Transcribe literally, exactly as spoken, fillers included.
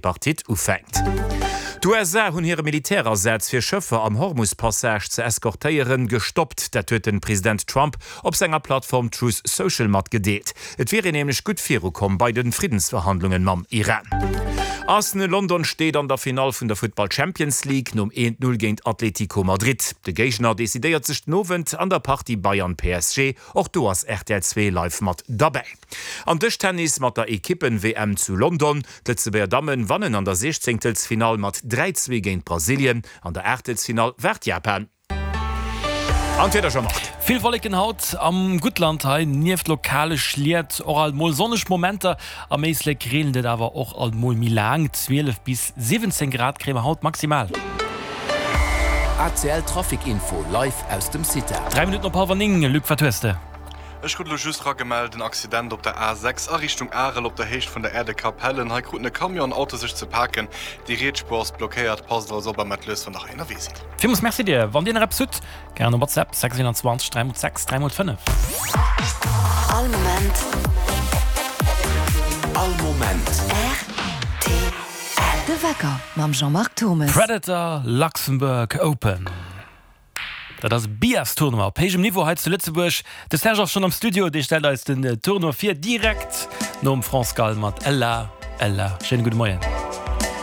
Tripartite ufänkt. D'USA hunn hire Militärasaz fir Schëffer am Hormus-Passage ze eskortéieren, gestoppt. Dat huet de President Trump op senger Plattform Truth Social matgedeelt. Et wier een nämlech gutt virukomm bei de Friddensverhandlungen mam Iran. Arsenal London steet an der Finall vun der Futtball Champions League nom een Null géint Atlético Madrid. De Géigner decidéiert sech den Owend an der Partie Bayern-PSG. Och do ass rtl zwee live mat derbäi. An Dëschtennis mat der Ekippen-WM zu London. D'Lëtzebuerger Dammen wannen an der Siechzéngtelsfinall mat dräi zwee géint Brasilien. An der Aachtelsfinall waart Japan. An d'Wieder, Jean-Marc. Vill Wolleken haut am Guttland, hei nieft lokale Schliet och alt mol sonneg Momenter. Am Éislek reent et awer och alt mol méi laang. zwielef bis siwwenzéng Grad kréie mer haut maximal. A C L Trafic Info live aus dem CITA. Dräi Minutten op hallwer néng, Luc, wat hues de? Ech krut elo just eragemellt en Accident op der A sechs a Richtung Arel op der Héicht vun der Aire de Capellen. Hei kruten e Camion an Auto sech ze paken. Déi riets Spuer ass blockéiert. Passt also op a mat lues wann der hei ënnerwee sidd. Villmools Merci dir. Wann dir nach eppes hutt, gären op WhatsApp sechs eenanzwanzeg dräi mol sechs dräi mol fënnef. All Moment. All Moment. R T L. De Wecker mam Jean-Marc Thommes. Predator Luxembourg Open. Dat ass e Billards-Tournoi op héijem Niveau hei zu Lëtzebuerg. De Serge ass schonn am Studio, dee stellt eis den Tournoi vir, direkt nom France Gall mat Ella, Ella. Schéine gudde Moien.